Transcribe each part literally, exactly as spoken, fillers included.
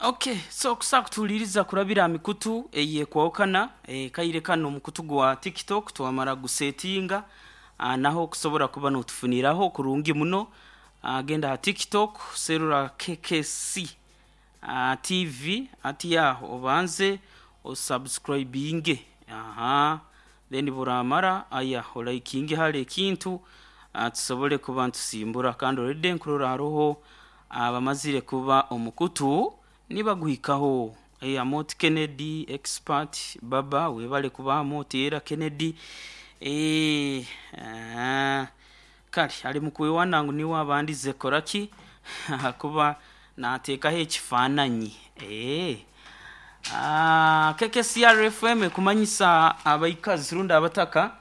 Okay, so kusa kutuuliriza kurabira mikutu eyekwawukana e, kaire kano omukutu gwa TikTok twamara gusetinga, ah, naho kusobora kuba notufuniraho kurungi muno. Ah, genda ha TikTok, serura K K C ah, T V ati yaho obanze osubscribinge, aha, then buramara aya olikinge hali ekintu, ah, tusobole kuba ntusimbura. Kandi already nkurora haroho abamazire kuba omukutu nibaguhikaho. eh, Amoti Kennedy expert baba, webale kuba Amoti era Kennedy. eh, ah, kale ali mukwewana ngu niwe abandize koraki kuba nateekaho ekifaananyi. eh. Ah, K K C R F M ekumanyisa abaikazi rundi abataka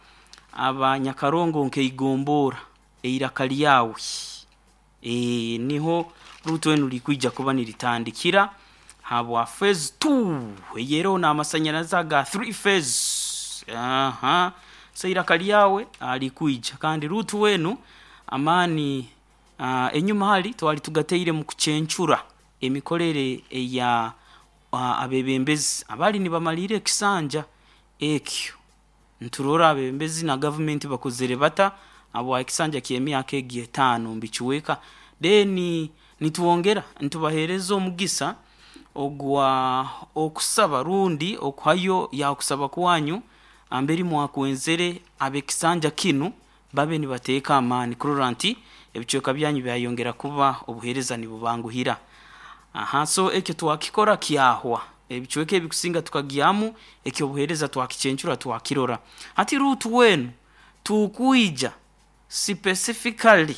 abanyakarongo nkeigombora eiraka lyawe. e, niho rutu enu likwija kuba niritandikira habwa phase two eyeroho n'amasanyarazi aga three phase. Aha, so iraka lyawe likwija kandi rutu wenu amaani uh, enyuma hali twali tugateire mu kucencura emikorere eya uh, abebembezi abali nibamalira ekisanja ekyo. Nturora abebembezi na gavumenti bakozere bata habwa ekisanja ky'emyaka egi etaano mbikiweka, then nitwongera nitubaheereza omugisa ogwa okusaba rundi okuhayo yakusaba kwanyu amberi mwakwenzere ab'ekisanja kinu babe nibateeka amaani kurora nti ebicweka byanyu byayongera kuba obuheereza nibubanguhira. Aha, so ekyo twakikora kyahwa, ebicweka ebikusinga tukagyamu ekyobuheereza, twakicencura, twakirora. Hati ruutu wenu tukwija specifically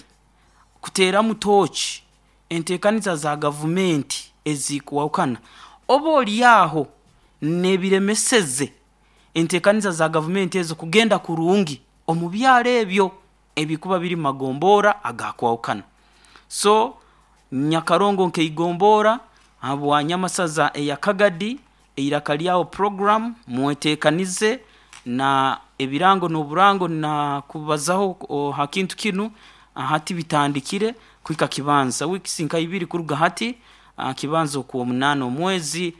kuteeramu tooci enteekaniza za gavumenti ezikwahukana oba oli aho n'ebiremeseze enteekaniza za gavumenti ezo kugenda kurungi omu byaro ebyo ebikuba biri magombora agakwahukana. So Nyakarongo nkeigombora habwa Nyamasaza eya Kagadi eiraka lyawe program, mweteekanize na ebirango n'oburango na kubazaho ha kintu kinu. Hati bitandikire kuhika kibanza weeks nka ibiri kuruga hati, kibanza okwomunaana omwezi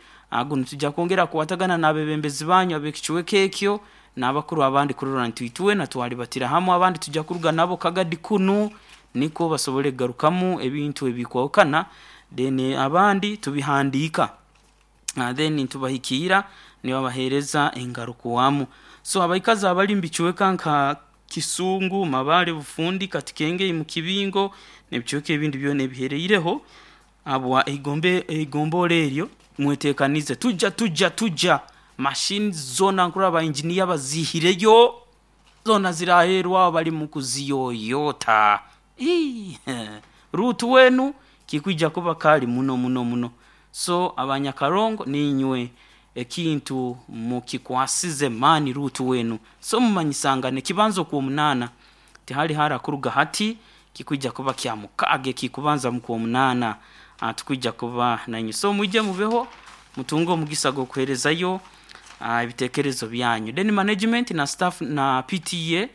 gunu tujja kwongera kukwatagana n'abebembezi banyu ab'ekicweka ekyo n'abakuru abandi kurora nti itwena twalibatira hamu. Abandi tujja kuruga nabo Kagadi kunu nikwo basobole kugarukamu ebintu ebikwahukana, then abandi tubihandiika, then nitubahikiira nibabaheereza engarukwamu. So abaikazi abali mubicweka nka Kisungu, Mabale, Bufundi, Katikengei, Mukibingo n'ebicweka ebindi byona ebihereireho habwa eigombe eigombora eryo, mwetekanize, tujja tujja tujja machines zoona nkurora ba engineer baziihireyo zoona ziraherwaho bali mu kuziyoyota. Ruutu wenu kikwija kuba kali muno muno muno. So abanyakarongo niinywe ekintu mukikwasize maani ruutu wenu. So mumanyisangane kibanza okwomunaana, tihali hara kuruga hati, kikwija kuba kya mukaaga ekikubanza mu kwomunaana tukwija kuba nainywe. So mwije mubeho mutunge omugisa gw'okuheerezayo ebiteekerezo byanyu. Then management na staff na P T A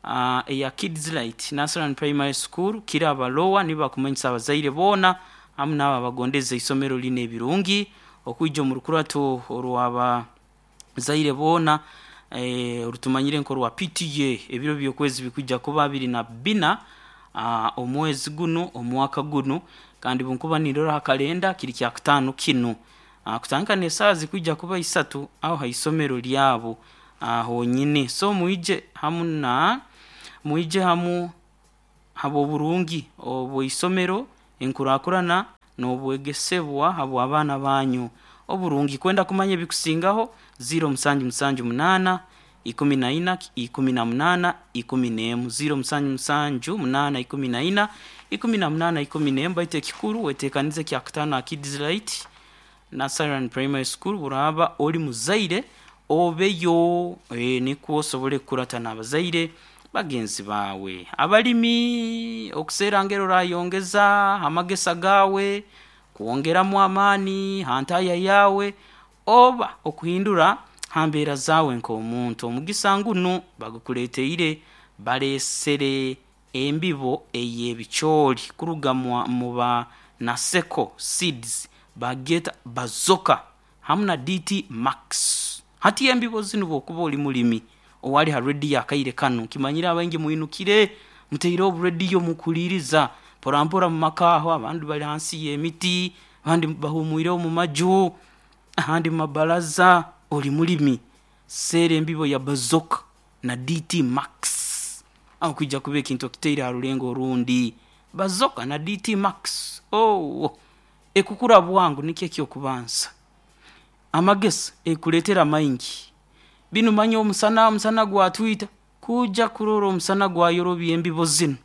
uh, eya Kids Light Nursery and Primary School Kiraba Lower nibo bakumanyisa abazaire boona hamu n'abo abagondeza isomero linu ebirungi okwija omu rukurato orw'abazaire boona eh, orutumanyire nk'orwa P T A. Ebiro by'okwezi bikwija kuba abiri na bina uh, omwezi gunu omwaka gunu, kandi bunkuba nindora ha kalenda kiri kyakutaano kinu, uh, kutandika n'esaaha zikwija kuba isatu aho ha isomero lyabo uh, honyini. So mwije hamu na mwije hamu habw'oburungi obw'isomero, enkurakurana n'obwegesebwa habw'abaana banyu oburungi. Kwenda kumanya ebikusingaho, zero musanju musanju munaana ikumi na ina ikumi na munaana ikumi n'emu, zero musanju musanju munaana ikumi na ina ikumi na munaana ikumi n'emu. Baitu ekikuru weteekanize kyakutaano ha Kids Light Nursery and Primary School. Buraaba oli muzaire obeyo, e, nikwo osobole kukurata n'abazaire bagenzi baawe. Abalimi okuseera ngeri orayongeza amagesa gaawe, kwongeramu amaani ha ntaya yaawe oba okuhindura ha mbeera zaawe nk'omuntu, omugisa ngunu bagukuleeteire, baleesere embibo ey'ebicooli kuruga mu ba Naseko Seeds. Bageta Bazoka hamu na D T Max. Hati embibo zinu bwokuba oli mulimi owali ha radio akaire kano kimanyira abaingi muinukire muteire obu radio mukuliriza mpora mpora mu maka aho, abandi bali hansi y'emiti, abandi bahumwire omu maju, ahandi mu mabaraza. Oli mulimi seera embibo ya Bazoka na D T Max aho kwija kuba ekintu okiteire ha rulengo orundi. Bazoka na D T Max oh, ekukura bwangu nikyo ekyokubanza amagesa ekuleetera maingi binu manya omusana omusana gwatwita kuja kurora omusana gwayorobya embibo zinu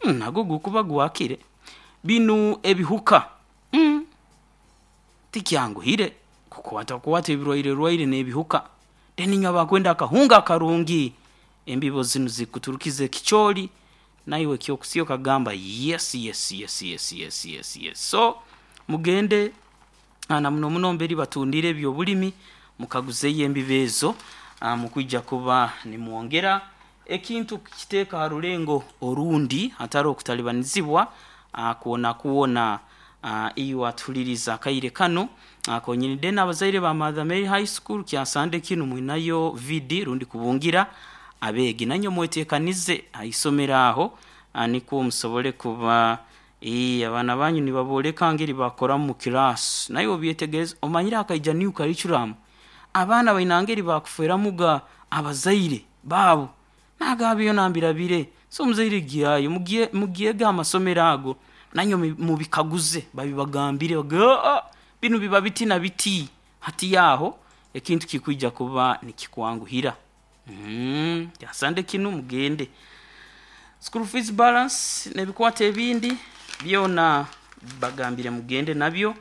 mm, nago gukuba gwakire binu ebihuka mm, tikyanguhire kukwata kukwata ebirwaire rwaire n'ebihuka. Then inywe abakwenda akahunga akarungi embibo zinu zikuturukiza ekicoori naiwe ekyokusya okagamba yes yes yes yes yes yes yes. So mugende na muno muno mberi batundire ebyobulimi mukaguzeyo embibo ezo mukwija kuba nimwongera ekintu kukiteeka ha rulengo orundi hatari okutalibanizibwa kwona kwona. Iwe atuhuliriza akaire kano konyini. Then abazaire ba Mother Mary High School kyasande kinu mwinayo V D rundi kubungira abeegi nanywe mweteekanize ha isomero aho nikwo musobole kuba ee abaana banyu nibabooleka ngeri bakoramu mu class naye obyetegereza omanyire akaija new curriculum abaana baina ngeri bakufeeramuga abazaire baabo nagabyo nambirabire. So omuzaire gyayo mugyege amasomero ago nanywe mubikaguze babibagambire bagambe binu biba biti na biti hati yaho ekintu kikwija kuba nikikwanguhira. Mm, kyasande kinu mugende school fees balance n'ebikwata ebindi byona bagambire mugende nabyo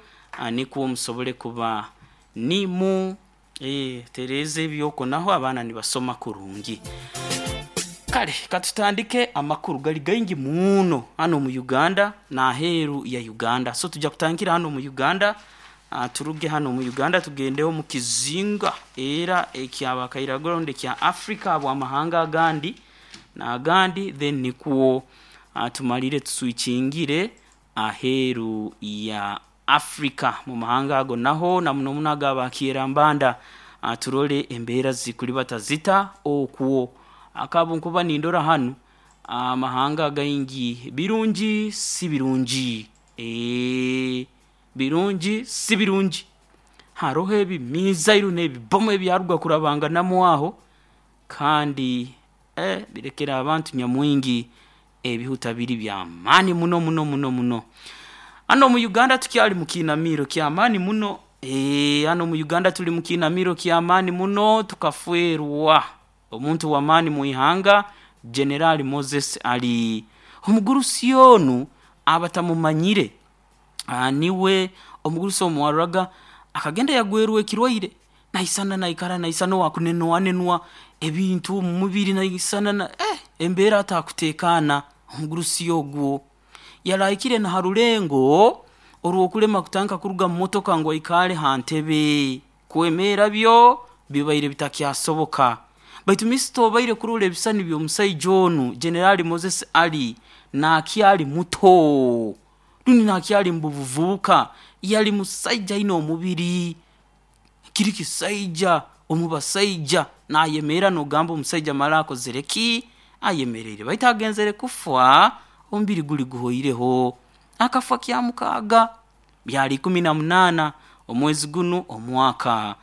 nikwo musobole kuba nimu eh, tereze ebyoko naho abaana nibasoma kurungi. Kale katutandike amakuru gali gaingi muno hano mu Uganda na heru ya Uganda. So tujja kutandikira hano mu Uganda, uh, turuge hano mu Uganda tugendeho mu kizinga era ekyabakairagoronde kya Africa abwamahanga agandi na agandi, then nikuwo uh, tumalire tuswikingire aheru ya Africa mu mahanga ago naho na muno muno agabakira mbanda uh, turole embeera zikuli batazita okwo akabo nkuba nindora hano amahanga uh, gaingi birungi si birungi eh birungi si birungi haroho ebimizairu n'ebibomu ebyaruga kurabanga namwaho kandi eh birekera abantu nyamwingi ebihuta biri bya maani muno muno muno muno. Hano mu Uganda tukyali mu kinamiro kya maani muno eh hano mu Uganda tuli mu kinamiro kya maani muno tukafwerwa omuntu wa maani mu ihanga General Moses Ali omugurusi onu abatamumanyire niwe omugurusi omuwaraga akagenda yagwerwa ekirwaire naisana naikara naisana wakunenwa ebintu mu mubiri naisana na eh embeera atakuteekaana omugurusi ogwo yalaikire na harulengo orwokulema kutanka kuruga mu motoka ngo aikale ha ntebe kwemera byo bibaire bitakyasoboka. Baitu misito obaire kurula ebisani by'omusaija onu General Moses Ali nakyali muto runi nakyali mubuvubuka yali musaija aine omubiri kiri kisaija omubasaija nayemera nogamba omusaija mara akozere ki ayemereire baitu agenzere kufa omubiri guli guhoireho akafa kya mukaaga byali ikumi na munaana omwezi guno omwaka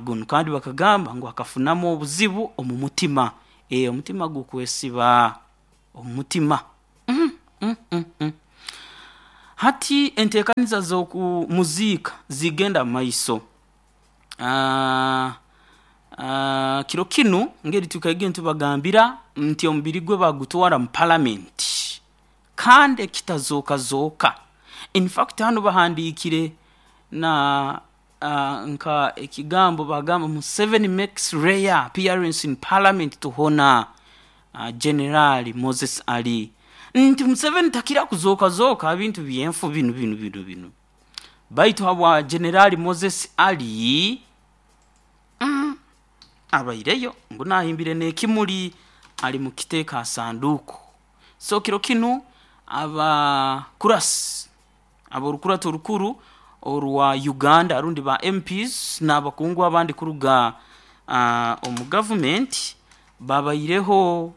guno kandi bakagamba ngu akafunamu obuzibu omu mutima e omutima gukwesiba omutima mm, mm, mm, mm. Hati enteekaniza z'okumuziika zigenda maiso uh, uh, kiro kinu ngeri tukaige ntubagambira nti omubiri gwe bagutwara mu parliament kandi ekitazoka zoka. In fact hano bahandiikire na uh, nka ekigambo bagamba Museveni makes rare appearance in parliament to honor uh, General Moses Ali nti Museveni takira kuzoka zoka bintu byenfu binu binu binu binu baitu habwa General Moses Ali mm, abaireyo ngu nahimbire n'ekimuli ali mu kiteeka sanduku. So kiro kinu abakurasi aborukurato rukuru orwa Uganda rundi ba M Ps n'abakungu abandi kuruga uh, omu gavumenti babaireho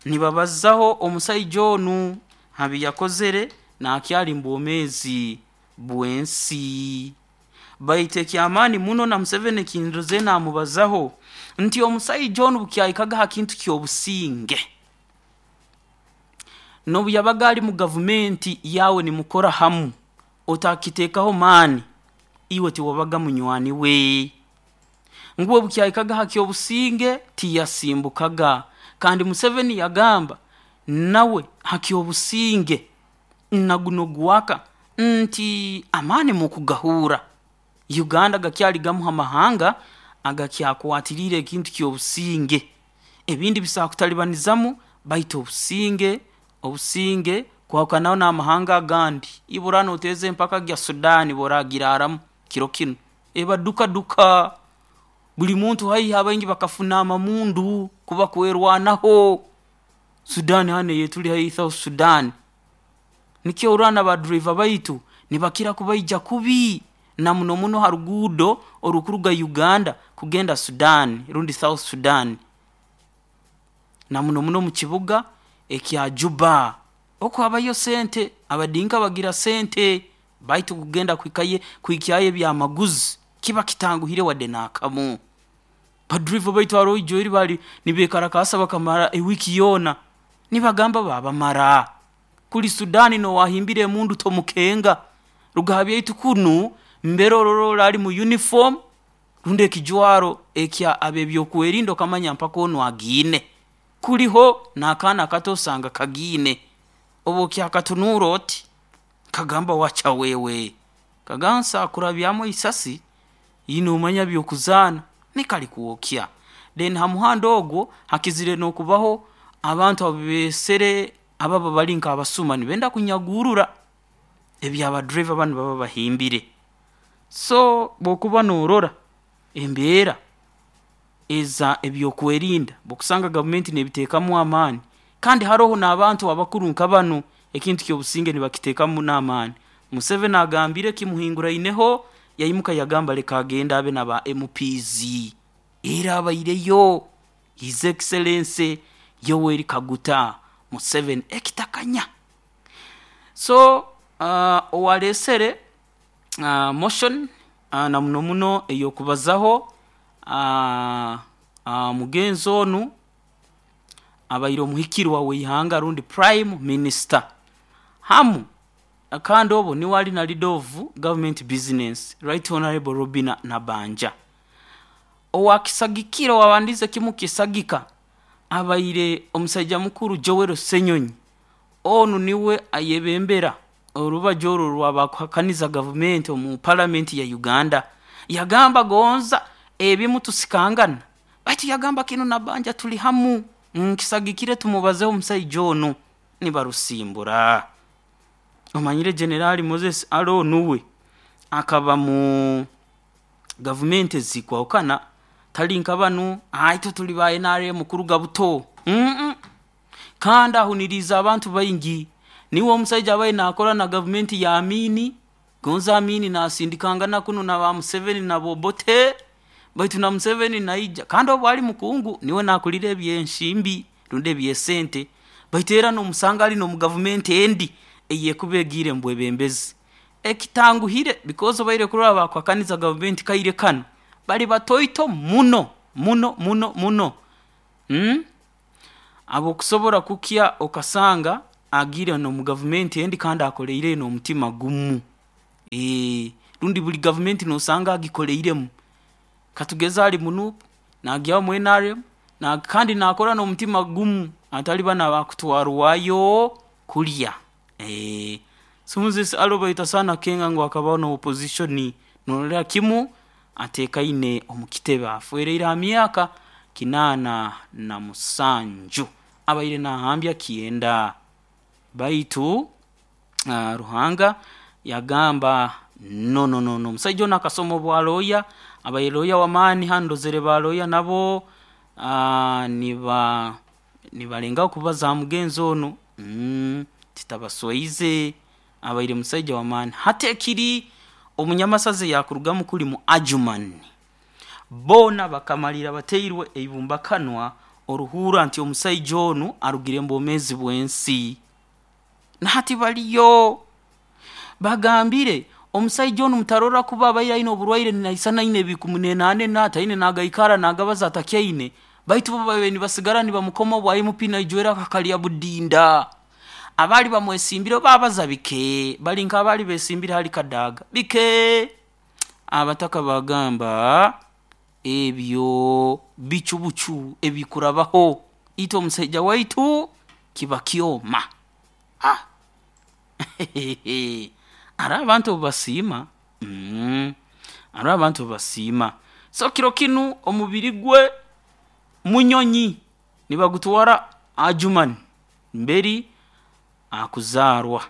nibabazaho omusaija onu habi yakozere nakyali mbwomeezi bw'ensi. Baitu ekyamaani muno na Museveni kindoze namubazaho nti omusaija onu bukyahikaga ha kintu ky'obusinge, n'obu yabaga ali mu gavumenti yawe nimukora hamu otakiteekaho maani, iwe tiwabaga munywani we. Ngu obukyahikaga ha ky'obusinge tiyasimbukaga, kandi Museveni yagamba nawe ha ky'obusinge naguno gwaka nti amaani mukugahuura. Uganda gakyali gamu ha mahanga agakyakwatiriire ekintu ky'obusinge, ebindi bisobora kutalibanizamu baitu obusinge obusinge kwahukanaho n'amahanga agandi, iwe oraaba nooteeza empaka gya Sudan oraagiraaramu kiro kinu, eba duka duka, buli muntu haihi abaingi bakafuna amamundu kuba kwerwanaho. Sudan hanu eyetuli haihi South Sudan, nikyo orora na ba driver baitu nibakira kubaija kubi na muno muno ha ruguudo orukuruga Uganda kugenda Sudan rundi South Sudan, na muno muno mu kibuga ekya Juba, oku habayo sente, Abadinka bagira sente, baitu kugenda kuhikayo kuhikyayo ebyamaguzi kiba kitanguhire wadde n'akamu. Ba driver baitu haroho ijo eri baali nibeekalakaasa bakamara ewiiki yoona nibagamba baabamara. Kuli Sudan n'owaahimbire emundu tomukenga, ruga ha byaitu kunu mbere orora oli ali mu uniform rundi ekijwaro ekya ab'ebyokwerinda okamanya mpaka onu agiine, kuli ho n'akaana akato osanga kagiine, obu okyakatunuura oti, kagamba wacha wewe, kagamba nso kurabyamu isasi iwe noomanya by'okuzaana nikalikwokya. Then ha muhanda ogu hakizire n'okubaho abantu abu beesere ababa bali nk'abasuma nibenda kunyagurra eby'aba driver banu baba bahimbire. So obu okuba noorora embeera eza ebyokwerinda obu okusanga gavumenti neebiteekamu amaani kandi haroho n'abantu abakuru nka banu ekintu ky'obusinge nibakiteekamu muno amaani. Museveni agambire kimuhinguraineho yaimuka yagamba leka agende abe n'aba M Ps, era abaireyo His Excellency Yoweri Kaguta Museveni ekitakanya. So uh, owaareesere uh, motion uh, na muno muno ey'okubazaho uh, uh, mugenzi onu abaire omuhikirwa w'ihanga rundi Prime Minister hamu kandi obu niwe ali na leader of government business, Right Honorable Robinah Nabbanja. Owakisagikire owaabandiize kimu kukisagika abaire omusaija mukuru Joel Ssenyonyi, onu niwe ayebembera orubaju oru orw'abakuhakaniza gavumenti omu Palamenti ya Uganda, yagamba gonza ebimu tusikangana baitu yagamba kinu Nabbanja tuli hamu, nkisagikire tumubazeeho omusaija onu nibarusimbura. Omanyire General Moses Alo uwe akaba mu gavumenti ezikwahukana, tali nka banu itwe tuli ba N R M kuruga buto, mmh kandi ahuniriize abantu baingi, niwe omusaija abaire naakora na gavumenti ya Amin, gonza Amin naasindikangana kunu na ba Museveni na ba Obote, baitu na Museveni naija kandi obu ali mukungu, niwe naakulira eby'ensimbi rundi eby'esente, baitu era noomusanga ali n'omu gavumenti endi eyekuba egiire mu bwebembezi. Ekitanguhire because obaire kurora abakuhakaniza gavumenti kaire kanu bali batoito muno muno muno muno, mm ab'okusobora kukya okasanga agiire n'omu gavumenti endi kandi akoleireyo n'omutima gumu, ee rundi buli gavumenti noosanga agikoleiremu, katugeze ali mu N U P, naagyaho mu N R M na kandi naakora n'omutima gumu hatali banu abakutwarwayo kulya, ee. So Moses Alo baitu tasaana kukenga ngu akabaho na opposition, noororra kimu ateekaine omu kitebe, afwereire ha myaka kinaana na musanju, abaire naahambya kyenda baitu uh, Ruhanga yagamba no no no omusaija onu akasoma obwa lawyer, abaire lawyer w'amaani hanu ndozere ba lawyer nabo uh, niba nibalengaho kubaza ha mugenzi onu, mm titabaswaize, abaire musaija w'amaani. Hati ekiri Omunyamasazi yakurugamu kuli mu Adjumani boona bakamalira bateirwe eibumbakanwa oruhura nti omusaija onu arugire mbwomeezi bw'ensi. Nahati baliyo bagambire omusaija onu mutarora kuba abaire aine oburwaire naisana aine ebikumunenanena ataine nagaikara nagabaza atakyaine, baitu bo babaire nibasigara nibamukoma obwa M P naijwera akakalya budinda. Abali bamwesimbire babaza bike, bali nk'abali besimbire hali Kadaga bike. Abataka bagamba ebyo bicubucu ebikurabaho itwe omusaija waitu kiba kyoma. Ah, hariho abantu obubasiima, mm, hariho abantu obubasiima. So kiro kinu omubiri gwe munyonyi nibagutwara Adjumani mberi akuzaarwa.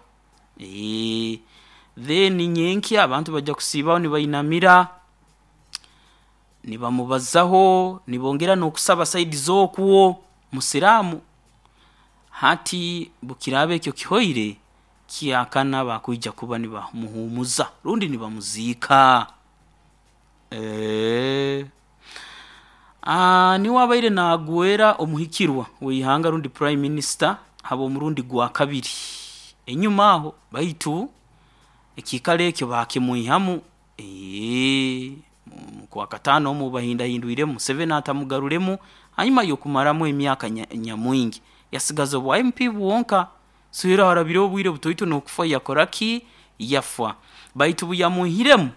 Eeh then nyenkya abantu baija kusiibaho nibainamira nibamubazaho nibongera n'okusaba sayidi z'okwo musiraamu. Hati bukiraaba ekyo kihoire, kyakana bakwija kuba nibamuhuumuza rundi nibamuziika. Eeh aah niwe abaire naagwera omuhikirwa w'ihanga rundi prime minister habw'omurundi gwa kabiri enyuma aho, baitu ekiikaro ekyo baakimwihamu, eeh mu Kwakataano omu obu baahindahindwiremu Museveni atamugaruremu hanyuma y'okumaramu emyaka nya nyamwingi yasigaza obwa M P bwonka, so era harabireho obwire butaito n'okufa yakora ki, yafa. Baitu obu yamwihiremu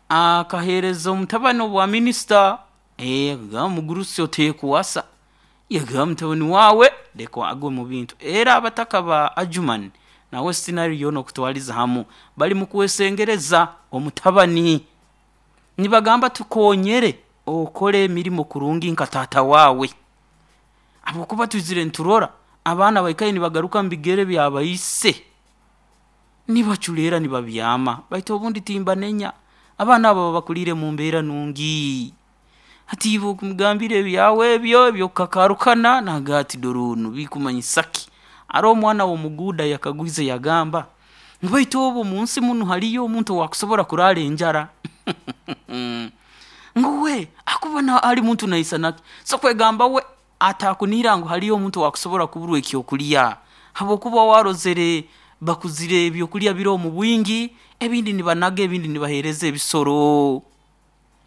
akaheereza omutabani obwa minisita, eeh nagamba omugurusi oteekwasa, yagamba mutabani waawe leka agwe mu bintu. Era abataka ba Adjumani na West Nile yoona okutwaliza hamu bali mu kwesengereza omutabani nibagamba tukoonyere okole emirimo kurungi nka taata waawe habwokuba twizire nturora abaana baikaire nibagaruka mubigere bya baise nibaculeera nibabyama, baitu obundi timbanenya, abaana abo baba bakuliire mu mbeera nungi, hati iwe okumugambira ebyawe ebyo eby'okukakaarukana naagamba ati dora onu bikumanyisa ki? Haroho omwana w'omuguuda yakagwize yagamba ngu baitu obu omunsi munu haliyo omuntu owaakusobora kuraara enjara? Ngu we akuba ali muntu naisana ki? So kwegamba we atakunihira ngu haliyo omuntu owaakusobora kuburwa ekyokulya habwokuba uwe arozere bakuzire ebyokulya biroho mu bwingi, ebindi nibanaga ebindi nibaheereza ebisoro.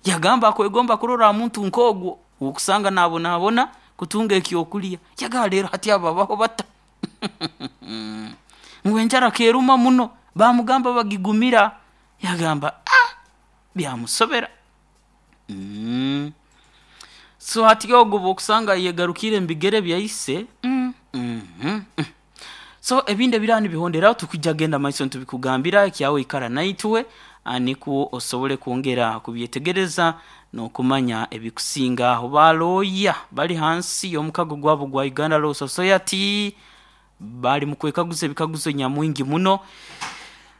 Yagamba akwegomba kurora ha muntu nk'ogu ou okusanga naabonabona kutunga ekyokulya, yagamba leero hati abo babaho bata? Ngu enjara keeruma muno, baamugamba bagigumira, yagamba aah byamusobera. So hati ogu obu okusanga ayegarukiire mu bigere bya ise, mmh mmh, so ebindi ebiraaba nibihonderaho tukwija kugenda mumaiso nitubikugambira ekyawe ikara naitwe nikwo osobole kwongera kubyetegereza n'okumanya ebikusingaho. Ba lawyer bali hansi y'omukago gwabo ogwa Uganda Law Society bali mukwekaguza ebikaguzo nyamwingi muno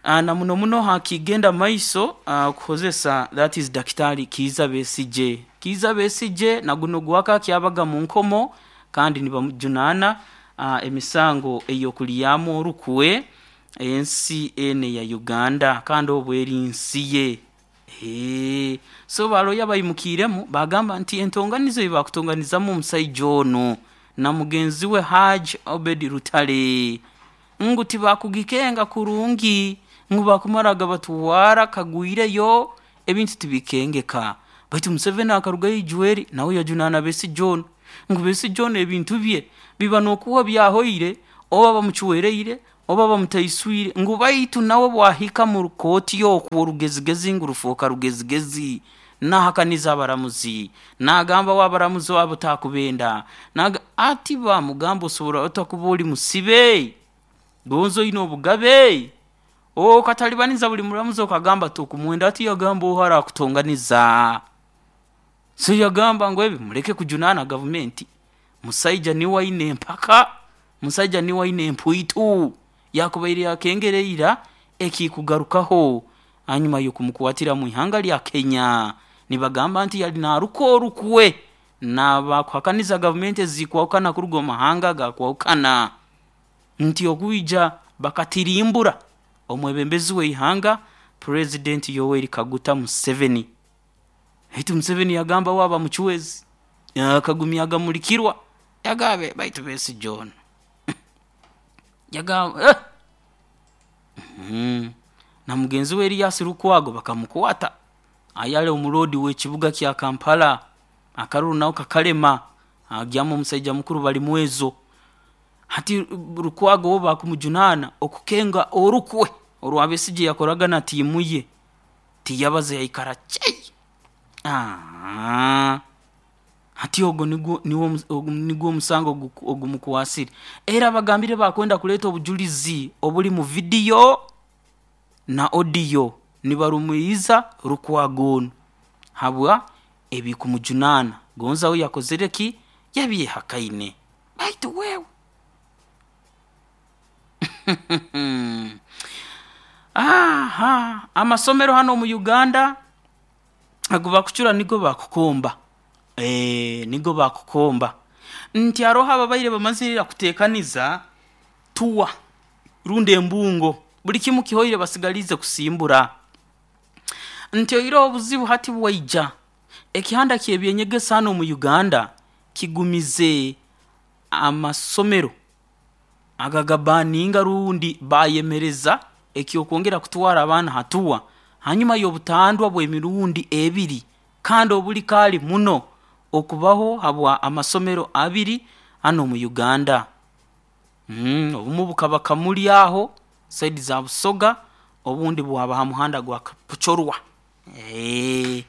na muno muno hakigenda mumaiso kuhozesa that is Daktari Kiiza Besigye. Kiiza Besigye na gunu ogwaka akyabaga mu nkomo kandi nibamujunaana emisango ey'okulyamu orukwe ensi enu eya Uganda kandi obu eri nsi ye. Eeh so ba lawyer baimukiiremu baagamba nti entonganiza ei bakutonganizamu omusaija onu na mugenzi we Hajji Obeid Lutale ngu tibakugikenga kurungi, ngu bakumara gabatwara kagwireyo ebintu tibikengeka. Baitu Museveni akarugayo ijweri nawe yajunaana Besigye onu ngu Besigye onu ebintu bye biba n'okuba byahoire oba bamucwereire oba bamutaiswire ngu baitu nawe obu ahika mu kooti oku orugezigezi ngu rufooka rugezigezi, naahakaniza abaramuzi, naagamba uwe abaramuzi abo takubenda, naaga ati baamugamba osobora ota kuba oli musibe gonza oine obugabe, okatalibaniza buli muramuzi okagamba tokumwenda, hati yagamba oha araakutonganiza? So yagamba ngu ebi muleke kujunaana gavumenti, musaija niwe aine empaka, musaija niwe aine empuitu, yaakubaire akengere ira ekikugarukaho hanyuma y'okumukwatira mwihanga lya Kenya. Nibagamba nti yali naaruka orukwe n'abakuhakaniza gavumenti ezikwahukana kuruga omu mahanga agakwahukana nti okwija bakatirimbura omwebembezi w'ihanga President Yoweri Kaguta Museveni. Baitu Museveni yagamba waba muchwezi akagumya agamulikirwa yagabe baitu Besigye ono yagamba eh! mm. Na mugenzi we Erias Lukwago bakamukwata ayale omulodi w'ekibuga kya Kampala akaruru naho kakalema agyamu omusaija mukuru Balimwezo. Hati Lukwago wo bakumujunana okukenga orukwe orwa Besigye yakoraga na tiimu ye tiyabaza yaikara chei. Aaah, hati ogwo nigwo niwo nigwo omusango ogumukwasire. Era bagambire bakwenda kuleeta obujulizi obuli mu vidiyo na audio nibarumiiriza Lukwago onu habwa ebikumujunaana gonza we yakozere ki yabyehakaine baitu wewe aha amasomero hanu omu Uganda agu bakucura nigo bakukomba ee nigo bakukomba nti haroho ababaire bamazire ira kuteekaniza tour rundi embungo buli kimu kihoire basigaliize kusimbura. Nti oihireho obuzibu hati bwaija ekihanda ky'ebyenyegesa hanu omu Uganda kigumize amasomero agagabaninga rundi bayemereza eky'okwongera kutwara abaana ha tour hanyuma y'obutandwa bw'emirundi ebiri kandi obuli kaali muno okubaho habwa amasomero abiri hanu omu Uganda. Mm obumu bukaba Kamuli aho saidi za Busoga obundi bwaba ha muhanda gwa Kapchorwa ee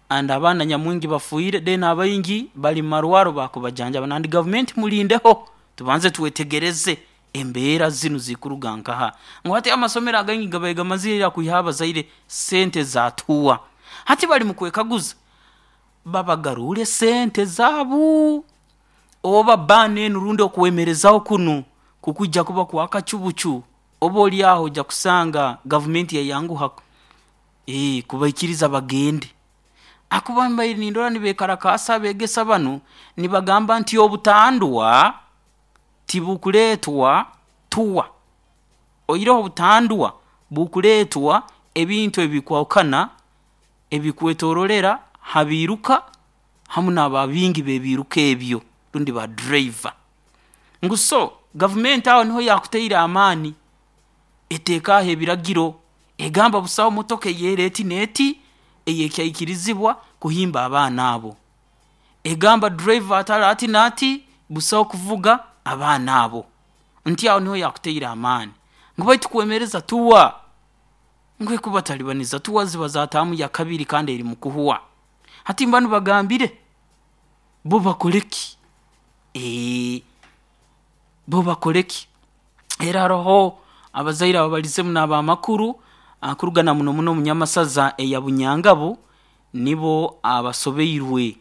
and abaana nyamwingi bafiire then abaingi bali mumarwarro bakubajanjaba nandi gavumenti mulindeho tubanze twetegereze embeera zinu zikuruga nkaha ngu hati amasomero againgi gabaire gamazire ira kwihaho abazaire sente za tour. Hati bali mukwekaguza babagaruure sente zaabu oba ban enu rundi okwemerezaho kunu kukwija kuba kwakacu bucu oba oli aho oija kusanga gavumenti yayanguha ee kubaikiriza bagende hakuba mbaire nindora nibeekarakaasa abeegesa banu nibagamba nti obutandwa tibukuleetwa tour oihireho obutandwa bukuleetwa ebintu ebikwahukana ebikwetororera ha biiruka hamu n'ababingi b'ebiiruka ebyo rundi ba driver. Ngu so gavumenti aho niho yaakutaire amaani eteeke aho ebiragiro egamba busaho motoka ey'era eti n'eti eyekyaikirizibwa kuhimba abaana abo, egamba driver atali ati n'ati busaho kuvuga abaana abo, nti aho niho yaakutaire amaani ngu baitu kwemereza tour ngu ekubatalibaniza tour ziba za taamu ya kabiri kandi eri mukuhwa. Hati banu bagambire bo bakole ki? Ee bo bakole ki? Era haroho abazaire ababalizeemu n'ab'amakuru kuruga na muno muno omunyamasaza eya Bunyangabu nibo abasobeirwe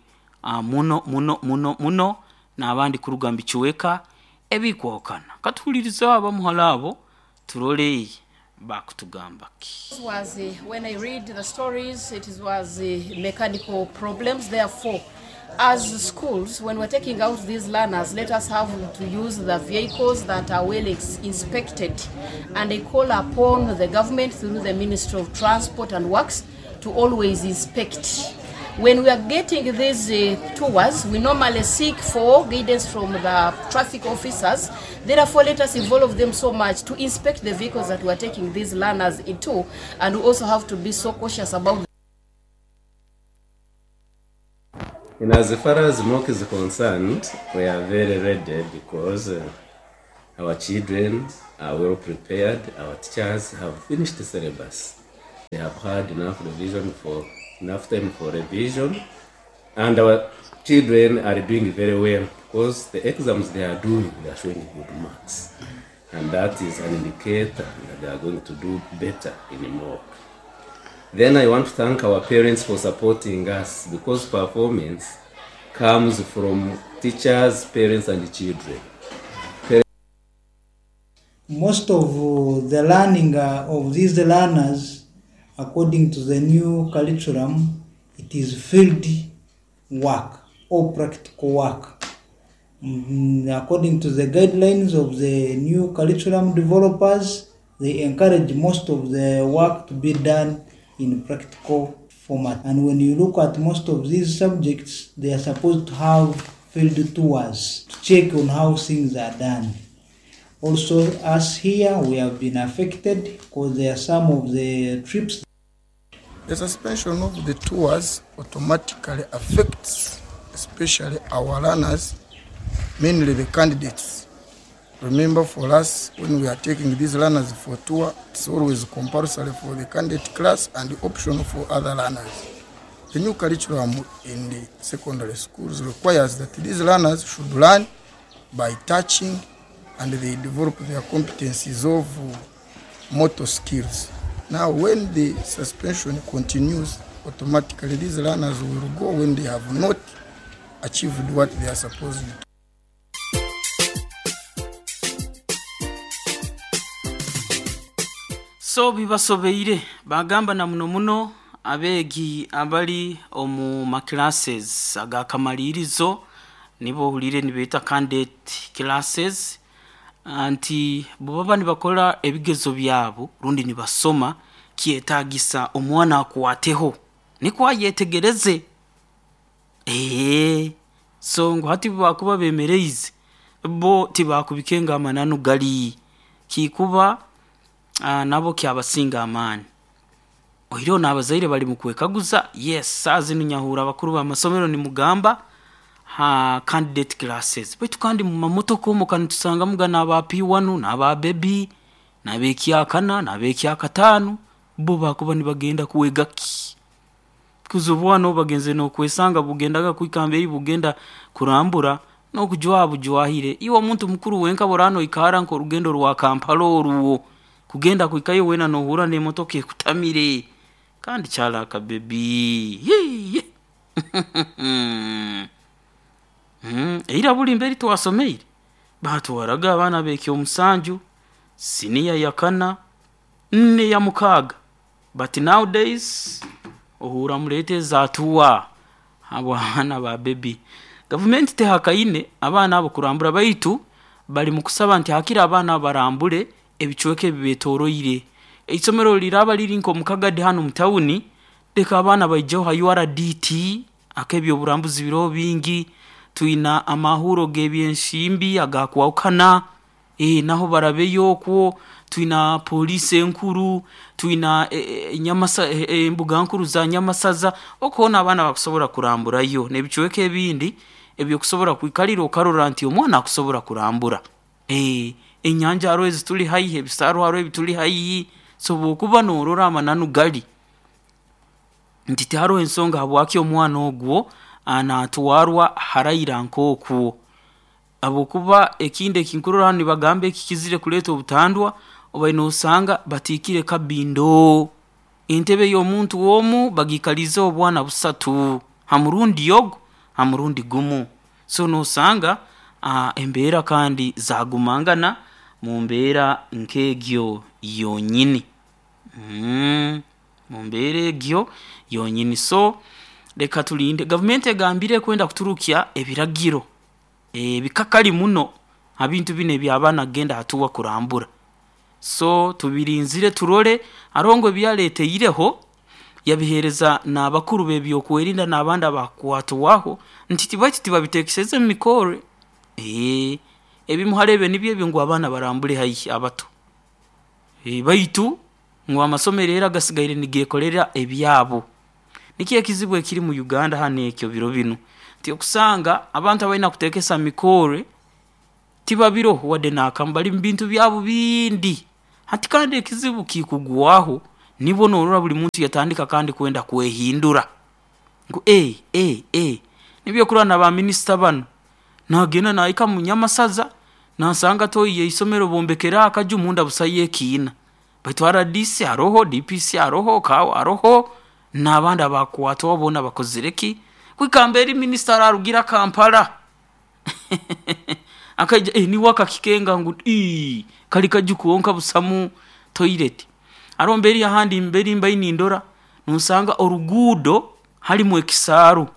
muno muno muno muno n'abandi kuruga mu bicweka ebikwahukana. Katuhuliirizeho abamu hali abo turole bakutugamba ki. Was uh, when I read the stories, it was uh, mechanical problems. Therefore, as schools, when we're taking out these learners, let us have to use the vehicles that are well ex- inspected. And I call upon the government through the Ministry of Transport and Works to always inspect. When we are getting these uh, tours, we normally seek for guidance from the traffic officers. Therefore, let us involve them so much to inspect the vehicles that we are taking these learners into, and we also have to be so cautious about And as far as M O C is concerned, we are very ready because uh, our children are well prepared. Our teachers have finished the syllabus. They have had enough revision for enough time for revision, and our children are doing very well because the exams they are doing, they are showing good marks, and that is an indicator that they are going to do better in M O C. Then I want to thank our parents for supporting us because performance comes from teachers, parents, and children. Most of uh, the learning uh, of these learners, according to the new curriculum, it is field work or practical work. Mm, according to the guidelines of the new curriculum developers, They encourage most of the work to be done in practical format. And when you look at most of these subjects, they are supposed to have field tours to check on how things are done. Also, us here, we have been affected because there are some of the trips. The suspension of the tours automatically affects especially our learners, mainly the candidates. Remember, for us, when we are taking these learners for tour, it's always compulsory for the candidate class and optional for other learners. The new curriculum in the secondary schools requires that these learners should learn by touching, and they develop their competencies of motor skills. Now, when the suspension continues, automatically these learners will go when they have not achieved what they are supposed to. So bibasobeire bagamba na muno muno abeegi abali omu maclasses agakamalirizo nibo ohurire nibeeta candidate classes, anti bwebaba nibakora ebigezo byabo rundi nibasoma, kyetagisa omwana akwateho nikwo ayetegereze. Ee, so ngu hati bakuba bemereize bo tibakubikenga amananu gali kikuba uh, nabo kyabasinga amaani. Oiro n'abazaire bali mu kwekaguza. Yes, saa zinu nyahura abakuru b'amasomero nimugamba ha candidate classes baitu kandi mu mamotoka omu kanitusanga gana aba P one n'aba baby n'abekyakana n'abekyakataano bo bakuba nibagenda kuwega ki kuza obwana obagenze n'okwesanga bugendaga kwikamba eri bugenda kurambura n'okujwaha bujwahire. Iwe omuntu mukuru wenka borano ikara nk'orugendo rwa Kampala oruwo kugenda kwikayo wena nohura n'emotoka ekutamire kandi kyalaka bebi. Mm, eira buli mberi twasomeire batwaraga abaana bekyo omusanju siniya yakana nne ya mukaaga, but nowadays ohura murete zatuwa abo abaana ba bebi. Gavumenti tehakaine abaana abo kurambura, baitu bali mu kusaba nti hakira abaana barambure ebicweka ebibetoroire. Eisomero liraba liri nk'omukagadi hano mu tawuni, leka abaana baijeho ha U R D T ak'ebyoburambuzi biriho bingi, twina amahuro g'ebyenshimbi agakwahukana, e, naho barabeyo okwo, twina polisi enkuru, twina e, e, nyamasa, e, embuga nkuru za Nyamasaza, okubona abaana bakusobora kuramburayo n'ebicweka ebindi ebyokusobora kwikalira okarora nti omwana akusobora kurambura. E, enyanja hariho ezituli haihi, ebisaaru hariho ebituli haihi, so bw'okuba noorora amananu gali nti tihariho ensonga habwaki omwana ogwo anatwarwa haraira nk'okwo. Habwokuba ekindi ekinkurora hanu nibagamba ekikizire kuleeta obutandwa, obaine nosanga batiikire kabindo entebe y'omuntu omu bagikalize obwana busatu ha murundi ogu ha murundi gumu. So nosanga uh, embeera kandi zagumangana mu mbeera nk'egyo yonyini. Mm, mu mbeera egyo yonyini. So leka tulinde gavumenti egambire kwenda kuturukya ebiragiro ebikakali muno abintu bino eby'abaana kugenda hatuwa kurambura. So tubirinzire turole arongo ebyaleteireho yabihereza n'abakuru b'ebyokwerinda n'abandi abakwatwaho nti tibaki tibabitekeseze mu mikore. Ee, ebimuharebe nibyo ebyo ngu abaana barambure haihi abato. E, baitu ngu amasomero era gasigaire nigekolera ebyabo. Nikyo ekizibu ekiri mu Uganda hano ekyo biro bino nti okusanga abantu abalina kutekesa mikore tibabiroho wadde n'akamu, bali mu bintu byabo bindi. Hati kandi ekizibu kikugwaho nibo norora buli muntu yatandika kandi kwenda kwehindura ngu e e e nibyo kurana ba minisita bano nagenda nahika mu Nyamasaza nasanga toyiye isomero bombekera akaju munda busaye ekiina, baitu R D C aroho, D P C aroho, kawo aroho n'abandi abakwatwa bona bakozire ki kwikamba eri minisita ararugira Kampala akaija eh, niwe akakikenga ngu ii kali kaju kuonka busamu toilet. Aro mberi ahandi mberi mbaini ndora nusanga orugudo halimu ekisaaru,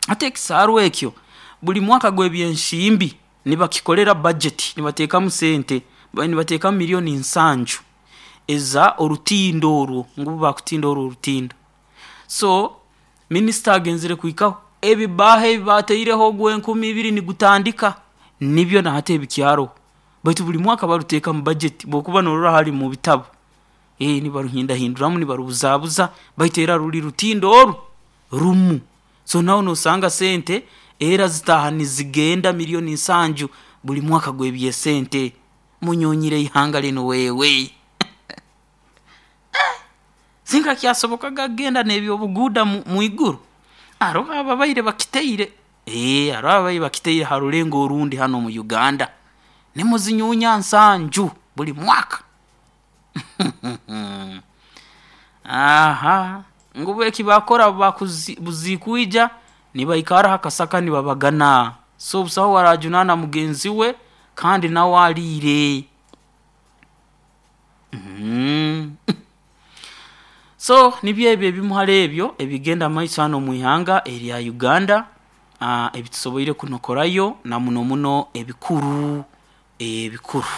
ate ekisaaru ekyo buli mwaka gw'ebyenshimbi nibakikolera budget, nibateekamu sente, nibateekamu milioni nsanju. eza orutindo orwo ngu bakutinda orwo orutindo. So minisita agenzere kuhikaho ebibaho ebi bateireho ogw'enkumi ibiri nigutandika nibyo nahati ebikyaro, baitu buli mwaka baruteeka mu budget. Bwokuba norora hali mu bitabo eh nibaruhindahinduramu, nibarubuzabuza, baitu era ruli rutindo oru rumu. So nawe nosanga sente era zitaha nizigenda miliyoni nsanju buli mwaka gw'ebyesente. Munyonyire ihanga linu wewe. Singa kyasobokaga kugenda n'ebyobuguuda mu iguru, haroho ababaire bakiteire, ee haroho ababaire bakiteire ha rulengo orundi hanu omu Uganda. Nimuzinyunya nsanju buli mwaka. Aha, ngu bo eki bakora buzikwija nibaikara ha kasaka nibabagana, so busaho owarajunaana mugenzi we kandi nawe aliire. So nibyo ebi ebimu hali ebyo ebigenda mumaiso hanu omuihanga erya Uganda, ebitusoboire kunokorayo na muno muno ebikuru, ebikuru.